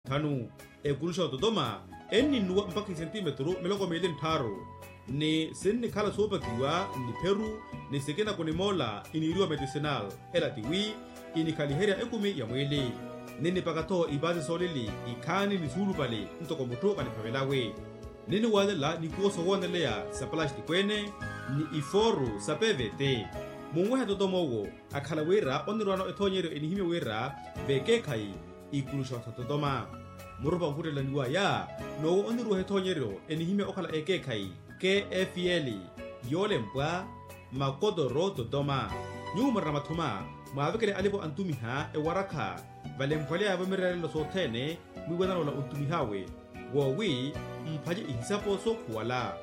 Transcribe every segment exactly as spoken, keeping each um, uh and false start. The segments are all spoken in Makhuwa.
Nthanu. Ekuluxa ototoma enninnuwa mpakha isentimetru miloko miili nttharu, ni sinnikhala soopakiwa nnipheru, ni sikina kunimoola iniiriwa medicinal. Ela tiwi inikhaliherya ekumi ya mwiili. Ninnipaka-tho ipaasi soolili ikhaani ni suulupale ntoko mutthu vaniphavelawe. Ninniwaalela nikuwo sowooneleya sa palastiko-ene ni ifooru sa pevete. Munwehe totoma owo akhala wira onnirwaano ethoonyeryo enihimya wira vekeekhayi ikuluxa sa totoma. Murupa onkhuttelaniwaya noowo onniruweha ethoonyeryo enihimya okhala ekeekhayi kfl, yoolempwa makotoro totoma. Nyuwo murina mathuma mwaavekele alipo antumiha ewarakha valemphwaleya-vo mireerelo sothene mwiiwananola ontumihawe woowi mphace ihisapo sookhuwala.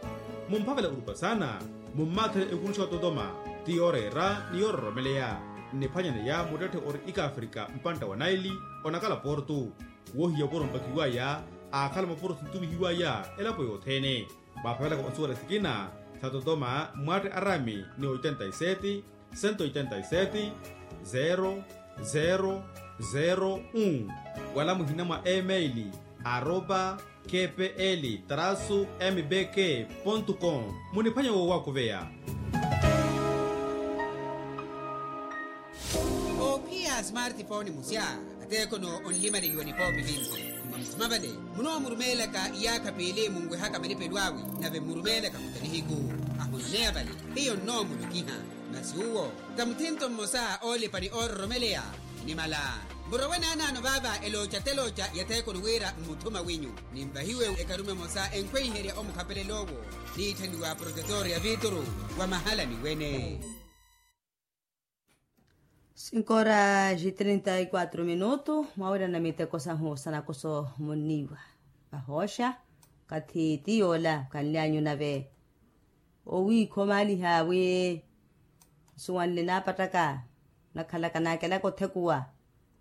Mumphavela orupa saana mummaathele ekuluxa ototoma ti yooreera ni yoororomeleya. Nniphwanyaneya muttetthe ori ikaafrika mpantta wa naili onakala portu. Woohiya opuro mpakiwaya aakhala mapuro sintumihiwaya elapo yothene. Mwaaphavelaka onsuwela sikina sa totoma mwatte arami ni oitenta y sete, sento oitenta y sete, zero zero zero un, wala muhina mwa email aropa kpl trasu mbk pontu com. Muniphwanya woowakuveya. Oophiya smartphone musya ateekono onlimaleliwa nipoopi vinci. Mmamuthuma vale munoomurumeelaka iyaakha piili munwehaka malipelo awe, nave mmurumeelaka muta nihiku ahoneya vale hiyo nnoomulokiha. Masi uwo ta muthinto mmosa oolipa ni oororomeleya. Nimala murowe naanaano vaava elooca telooca ya theekoni wira mmuthuma winyu. Ninvahiwe ekarume emosa enkhweiherya omukhapelel'owo niitthaniwa protetor ya viituru wa mahalani wene. Cinco horas e trinta e quatro minutu. Mwawirana miteko sahu sanakoso munniiwa vahooxa. Okathi ti yoola kanly'anyu nave owiikha omaaliha wi nsuwanle naapattaka. Munakhalaka naakelaka othekuwa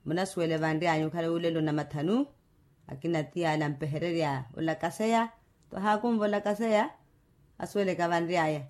munasuwele vanry'anyu okhale wulelo na mathanu. Akina ti yaala ampehererya olakaseya. Tohaakunva olakaseya asuweleke avanry'aya.